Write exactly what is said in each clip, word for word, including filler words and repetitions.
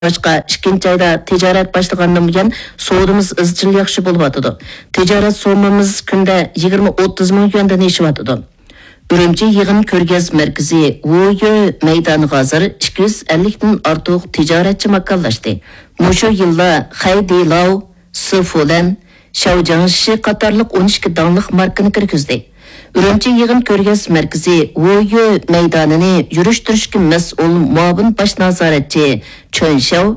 باشقا، ئىككىنچى ئايدا تىجارەت باشلىغاندىن بۇيان سودىمىز ئىزچىل ياخشى بولۇۋاتىدۇ. تىجارەت سوممىمىز كۈندە يىگىرمە ئوتتۇز مىڭ يۈەندىن ئېشىۋاتىدۇ. ئۈرۈمچى يىغىن كۆرگەزمە مەركىزى ۋۇيۈ مەيدانىغا ھازىر ئىككى يۈز ئەللىكتىن ئارتۇق تىجارەتچى ماكانلاشتى. مۇشۇ يىللا خەيدىلاۋ، سىفۇلەن، شياۋجياڭشى قاتارلىق ئون ئىككى داڭلىق ماركىنى كىرگۈزدى. ئۈرۈمچى يىغىن كۆرگەزمە مەركىزى ۋۇيۈ مەيدانىنى يۈرۈشتۈرۈشكە مەسئۇل مۇئاۋىن باش نازارەتچى چۆن شياۋ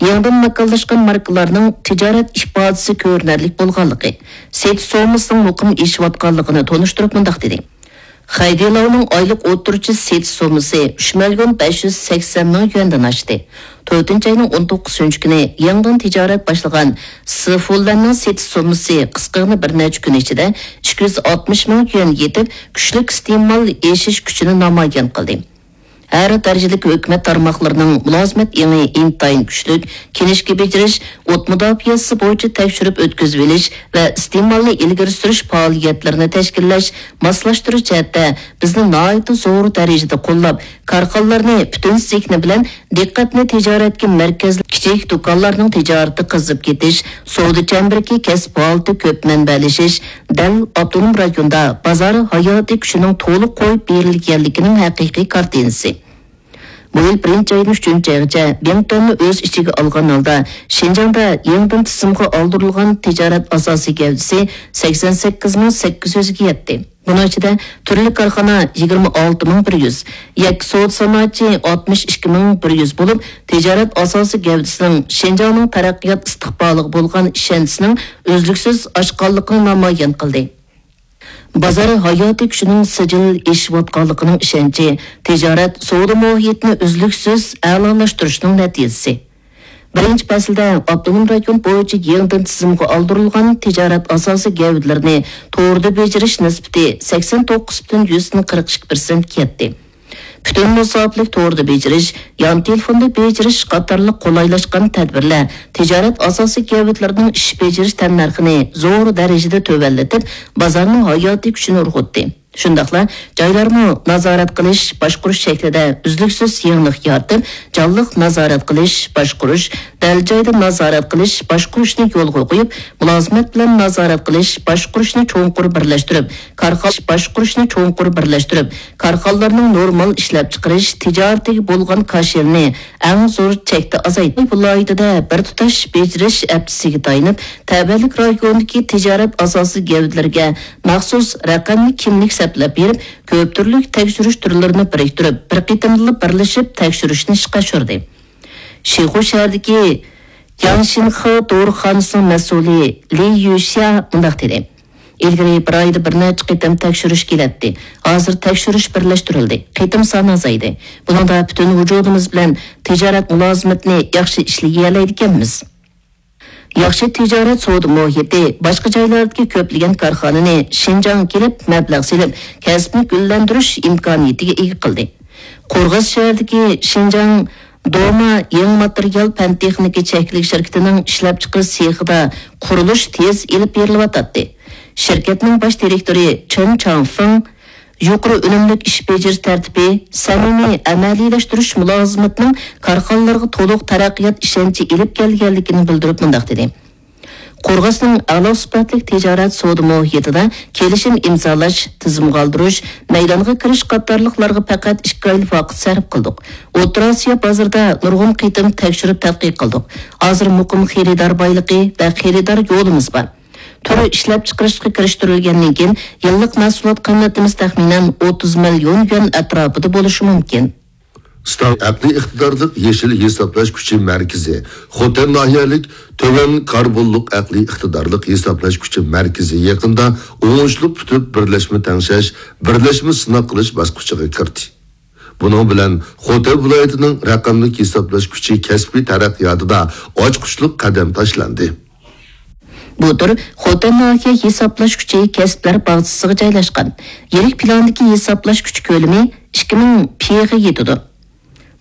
يېڭىدىن ماكانلاشقان ماركىلارنىڭ تىجارەت ئىپادىسى كۆرۈنەرلىك بولغانلىقى، سېتىش سوممىسىنىڭ مۇقىم ئېشىۋاتقانلىقىنى تونۇشتۇرۇپ مۇنداق دېدى: خەيدىلاۋنىڭ ئايلىق ئوتتۇرىچە سېتىش سوممىسى ئۈچ مىليون بەش يۈز سەكسەن مىڭ يۈەندىن ئاشتى. تۆتىنچى ئاينىڭ ئون توققۇزىنچى كۈنى يېڭىدىن تىجارەت باشلىغان سىفۇلەننىڭ سېتىش سوممىسى قىسقىغىنە بىر نەچچە كۈن ئىچىدە ئىككى يۈز ئاتمىش مىڭ يۈەن يېتىپ، كۈچلۈك ئىستېمال ئېشىش كۈچىنى نامايان قىلدى. ھەر دەرىجىلىك ھۆكۈمەت تارماقلىرىنىڭ مۇلازىمەت ئېڭى ئىنتايىن كۈچلۈك، كىنىشكا بېجىرىش، ئوت مۇداپىئەسى بويىچە تەكشۈرۈپ ئۆتكۈزۈۋېلىش ۋە ئىستېمالنى ئىلگىرى سۈرۈش پائالىيەتلىرىنى تەشكىللەش، ماسلاشتۇرۇش جەھەتتە بىزنى ناھايىتى زور دەرىجىدە قوللاپ، كارخانىلارنى پۈتۈن زېھنى بىلەن دىققەتنى تىجارەتكە مەركەزلەپ، كىچىك دۇكانلارنىڭ تىجارىتى قىزىپ كېتىش، سودا چەمبىرىكى كەسىپ ھالىتى كۆپ مەنبەلىشىش، دەل ئاپتونوم رايوندا بازار ھاياتىي كۈچىنىڭ تولۇق قويۇپ بېرىلگەنلىكىنىڭ ھەقىقىي كارتىنىسى. بۇ يىل بىرىنچى ئايدىن ئۈچىنچى ئايغىچە بىڭتۈەننى ئۆز ئىچىگە ئالغان ھالدا، شىنجاڭدا يېڭىدىن تىزىمغا ئالدۇرۇلغان تىجارەت ئاساسىي گەۋدىسى سەكسەن سەككىز مىڭ سەككىز يۈزگە يەتتى. بۇنىڭ ئىچىدە تۈرلۈك كارخانا يىگىرمە ئالتە مىڭ بىر يۈز، يەككە سودا سانائەتچى ئاتمىش ئىككى مىڭ بىر يۈز بولۇپ، تىجارەت ئاساسىي گەۋدىسىنىڭ شىنجاڭنىڭ تەرەققىيات ئىستىقبالىغا بولغان ئىشەنچىسىنىڭ ئۈزلۈكسىز ئاشقانلىقىنى نامايان قىلدى. بازار ھاياتىي كۈچىنىڭ سىجىل ئېشىۋاتقانلىقىنىڭ ئىشەنچى، تىجارەت سودا مۇھىتىنى ئۈزلۈكسىز ئەلالاشتۇرۇشنىڭ نەتىجىسى. بىرىنچى پەسىلدە ئاپتونوم رايون بويىچە يېڭىدىن تىزىمغا ئالدۇرۇلغان تىجارەت ئاساسىي گەۋدىلىرىنى توردا بېجىرىش نىسبىتى سەكسەن توققۇز پۈتۈن يۈزدىن قىرىق ئىككى پىرسەنتكە يەتتى. پۈتۈن مۇساپىلىك توردا بېجىرىش، يان تېلېفوندا بېجىرىش قاتارلىق قولايلاشقان تەدبىرلەر تىجارەت ئاساسىي گەۋدىلىرىنىڭ ئىش بېجىرىش تەننەرخىنى زور دەرىجىدە تۆۋەنلىتىپ، بازارنىڭ ھاياتىي كۈچىنى ئۇرغۇتتى. شۇنداقلا جايلارمۇ نازارەت قىلىش، باشقۇرۇش شەكلىدە ئۈزلۈكسىز يېڭىلىق يارىتىپ، جانلىق نازارەت قىلىش، باشقۇرۇش، دەل جايدا نازارەت قىلىش، باشقۇرۇشنى يولغا قويۇپ، مۇلازىمەت بىلەن نازارەت قىلىش، باشقۇرۇشنى چوڭقۇر بىرلەشتۈرۈپ، كارخانا باشقۇرۇشنى چوڭقۇر بىرلەشتۈرۈپ، كارخانىلارنىڭ نورمال ئىشلەپچىقىرىش تىجارىتىگە بولغان كاشىلىنى ئەڭ زور چەكتە ئازايتىپ، ۋىلايىتىدە بىر تۇتاش بېجىرىش ھەپتىسىگە تايىنىپ، تەۋەلىك رايونىدىكى تىجارەت ئاساسىي گەۋدىلىرىگە مەخسۇس رەقەملىك كىملىك سەپلەپ بېرىپ، كۆپ تۈرلۈك تەكشۈرۈش تۈرلىرىنى بىرىكتۈرۈپ، بىر قېتىمدىلا بىرلىشىپ تەكشۈرۈشنى ئىشقا ئاشۇردى. شىخۇ شەھىرىدىكى ياڭشىنخې دورىخانىسىنىڭ مەسئۇلى لى يۈشيا مۇنداق دېدى: ئىلگىرى بىر ئايدا بىر نەچچە قېتىم تەكشۈرۈش كېلەتتى. ھازىر تەكشۈرۈش بىرلەشتۈرۈلدى، قېتىم سانى ئازايدى. بۇنىڭدا پۈتۈن ۋۇجۇدىمىز بىلەن تىجارەت مۇلازىمىتىنى ياخشى ئىشلىيەلەيدىكەنمىز. ياخشى تىجارەت سودا مۇھىتى باشقا جايلاردىكى كۆپلىگەن كارخانىنى شىنجاڭغا كېلىپ مەبلەغ سېلىپ، كەسىپنى گۈللەندۈرۈش ئىمكانىيىتىگە ئىگە قىلدى. قورغاس شەھىرىدىكى شىنجاڭ دوما يېڭى ماتېرىيال پەن تېخنىكا چەكلىك شىركىتىنىڭ ئىشلەپچىقىرىش سېخىدا قۇرۇلۇش تېز ئېلىپ بېرىلىۋاتاتتى. شىركەتنىڭ باش دىرېكتورى چېن چاڭفېڭ يۇقىرى ئۈنۈملۈك ئىش بېجىرىش تەرتىپى، سەمىمىي ئەمەلىيلەشتۈرۈش مۇلازىمىتىنىڭ كارخانىلارغا تولۇق تەرەققىيات ئىشەنچى ئېلىپ كەلگەنلىكىنى بىلدۈرۈپ مۇنداق دېدى: قورغاسنىڭ ئەلا سۈپەتلىك تىجارەت سودا مۇھىتىدا كېلىشىم ئىمزالاش، تىزىمغا ئالدۇرۇش، مەيدانغا كىرىش قاتارلىقلارغا پەقەت ئىككى ئايلا ۋاقىت سەرپ قىلدۇق. ئوتتۇرا ئاسىيا بازىرىدا نۇرغۇن قېتىم تەكشۈرۈپ تەتقىق قىلدۇق. ھازىر مۇقىم خېرىدار بايلىقى ۋە خېرىدار يولىمىز بار. تۈر ئىشلەپچىقىرىشقا كىرىشتۈرۈلگەندىن كېيىن، يىللىق مەھسۇلات قىممىتىمىز تەخمىنەن ئوتتۇز مىليون يۈەن ئەتراپىدا بولۇشى مۇمكىن. ستاڭ ئەقلىي ئىقتىدارلىق يېشىل ھېسابلاش كۈچى مەركىزى، خوتەن ناھىيەلىك تۆۋەن كاربونلۇق ئەقلىي ئىقتىدارلىق ھېسابلاش كۈچى مەركىزى يېقىندا ئوڭۇشلۇق پۈتۈپ، بىرلەشمە تەڭشەش، بىرلەشمە سىناق قىلىش باسقۇچىغا كىردى. بۇنىڭ بىلەن خوتەن ۋىلايىتىنىڭ رەقەملىك ھېسابلاش كۈچى كەسپىي تەرەققىياتىدا ئاچقۇچلۇق قەدەم تاشلاندى. بۇ تۈر خوتەن ناھىيە ھېسابلاش كۈچى كەسىپلەر باغچىسىغا جايلاشقان. يىللىق پىلاندىكى ھېسابلاش كۈچى كۆلىمى ئىككى مىڭ پىغا يېتىدۇ.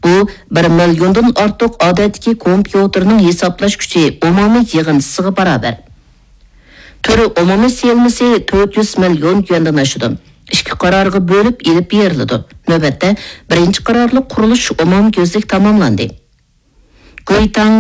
بۇ بىر مىليوندىن ئارتۇق ئادەتتىكى كومپيۇتېرنىڭ ھېسابلاش كۈچى ئومۇمىي يىغىندىسىغا باراۋەر. تۈر ئومۇمىي سېلىنمىسى تۆت يۈز مىليون يۈەندىن ئاشىدۇ. ئىككى قارارغا بۆلۈپ ئېلىپ بېرىلىدۇ. نۆۋەتتە بىرىنچى قارارلىق قۇرۇلۇش ئومۇميۈزلۈك تاماملاندى. گۇيتاڭ